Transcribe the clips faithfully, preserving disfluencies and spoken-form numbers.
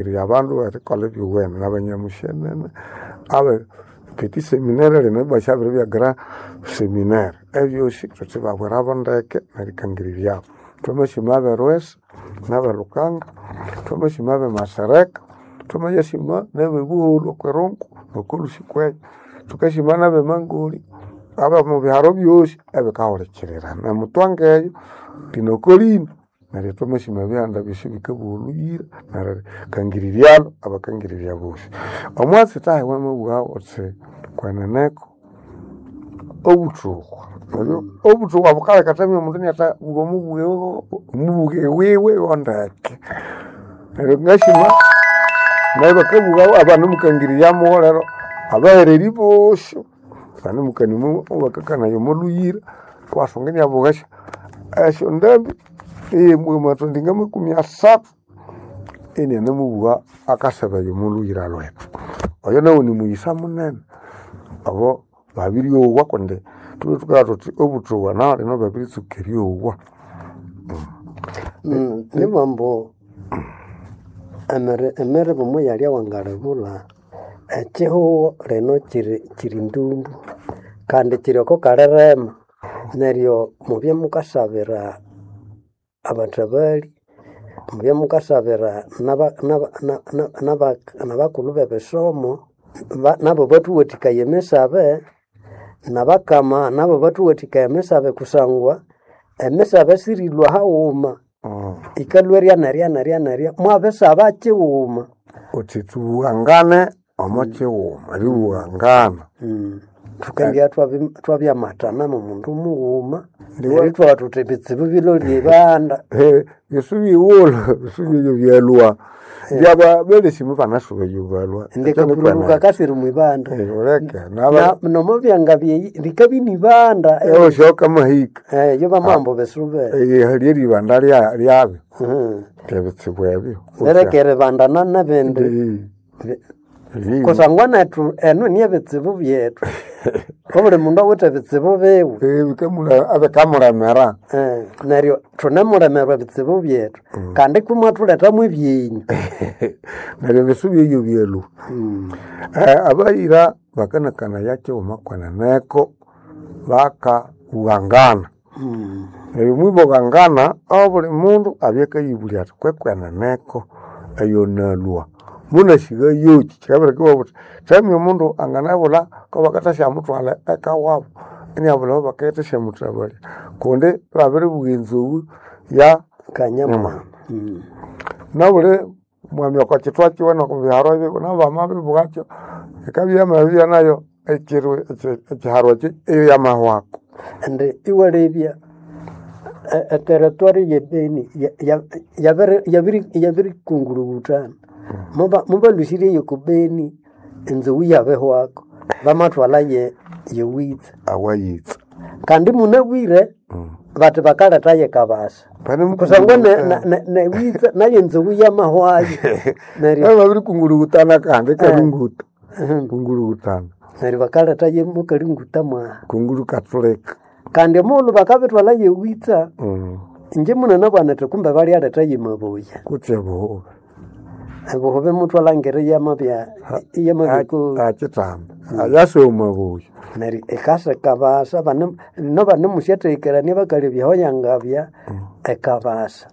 Abandu erikolha ebyowene nabanyamushenene abe petit seminaire lino ibwasyabiribya grand seminaire. Ebyosi thuthibabwirabo ndeke nerikangiriryabu. Thwamasima aberwesa naberukanga, thwamasima abemasereka, thwamayasima nabebuholho okwirungu nokolhusi kwenyu. Thukasima nabemangolya abomubiharo byosi ebikahulikirira. Nemutwanga eyo linokolino neryo thwamasima ebihanda byosi ebikabugha olhuyira nerikangiriryalo abakangirirya bosi. Omwatsi thahi wamabugha wuthi kweneneko obuthuku neryo obuthuku bukaleka thamya omundu iniathabugha omubughe omubughe wiwe wandeke. Neryo ngasima neryo bakabugha abanemukangirirya mugholero abahereri bosi banemukania bakakanaya omolhuyira iwasunga iniabugha esyo esyondambi eyemwe ngamakumi asathu inianemubugha akasebaya omolhuyira lhwethu. Oyo nawu nimughisa munene abo babiryowa kundi thulhwe thukabugha thuthi obuthuku nahu lino babiritsuka eryowa. Nibugha ambu emiri emiribo muyalya wangalibulha, ekihugho lino kiri kiri ndumbu kandi kiri oko kalirema. Neryo mubye mukasabira abathabali, mubye mukasabira naba naba naba nabakulhu bebisomo nabo bathuwathikaya emisabe, nabakama nabo bathuwathikaya emisabe kusangwa emisabe sirilhwa haghuma, yikalhwa erya nerya nerya nerya mwabisaba kighuma. Wuthi thubughangane omo kighuma, eribughangana. Thukendibya thwabyamatana momundu mughuma neryo ithwabugha thuthi ebitsibu bilolye ibanda. Bisubighulhu bisubi byalhwa byaba balesi mubanasuba eyo balhwa. Indi akapururu kakasira omwibanda. Wuleke Nomo byanga byeyi likabya inibanda. Ewosyoka kamahika. Iyo bamabugha ambu bisube. Hali eribanda lyabyo lyebitsibu ebyo. Lireke eribandana nebindi kusangwa nethu enu niyebitsibu byethu. Obuli mundu awithe ebitsibu biwe. Ebikamulemera. Neryo thunemulemerwa ebitsibu byethu kandi kumwathulethamo ebyenyu. Neryo ebisubi ebyo byalhwa. Abayira bakanakanaya kighuma kweneneko bakabughangana. Neryo mwibughangana obuli mundu abya akayibulya athi kwekweneneko eyonalhwa munasigha yoki. Kikabireka ibabugha bathi thamya omundu anganabulha kwabakathasyamuthwalha eka wabu iniabulha awabakendithasya kundi ibabiribugha enzoghu ya Kanyamwami. Nabuli mwami okwa kithwa kiwe nokwa biharo biwe nabo bamabibugha yikabya yamabibya nayo ekiro ekiharo ekyo iyo yamahwako. Indi iwalebya eterritory ye Beni yabirikungurubutana. Mubalhusirye yoko Beni enzoghu iyabihwako bamathwalha ye yewitsa. Awayitsa. Kandi munabwire bathi bakaletha yekabasa kusangwa newitsa nayo enzoghu yamahwayo. Neryo babirikungurubutana kandi ikalunguta. Kungurubutana. Neryo bakaletha yemukalunguta mwaha. Kunguru kathulika. Kandi omughulhu bakabithwalha yewitsa inje munanabugha nithi kumbe balyaletha yemabuya. Kutse ebuhubi. Ebuhubi muthwalhangira iyamabya iyamabya Akithamba. Ayasa omumabuya. Neryo ikasa ekabasa lino banemusyathekerania bakalebya aho yangabya ekabasa.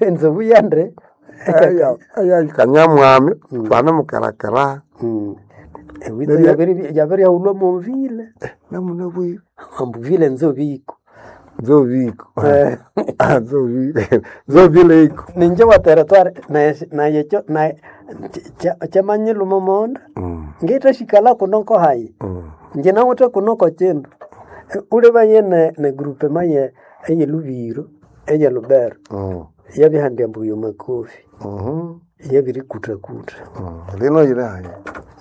Enzoghu yandi Kanyamwami banemukerakera. Ewitsa yabiryaghulhwa mwovile. Namunabwire. Ambu vile nzobiko. Nzobiko. Nzobile iko. Ninje wa territoire naye kyamanyilhuma omonda ngithasyikalha kuno hayi inje nawithe kuno kokyindu. Ulibaye ne groupement eye eyelubiro eye Lubero yabyahandia ambu yomakofi yabirikuthakutha. Lino yiri hayi.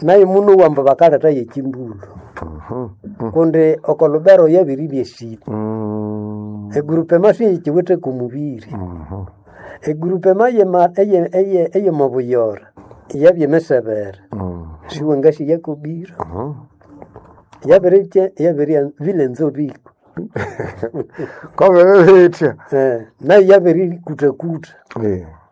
Nayo munowa ambu bakaletha yekyimbulho kundi oko Lubero yabiribya esita. Egroupement siyikiwithe komubiri. Egroupement eyemabuyora yabya emisebere siwangasya kobiro. Yabirikya yabirya vile nzobiko. Kwabere bitya. Eh, nayo yabirikutakuta. Eh.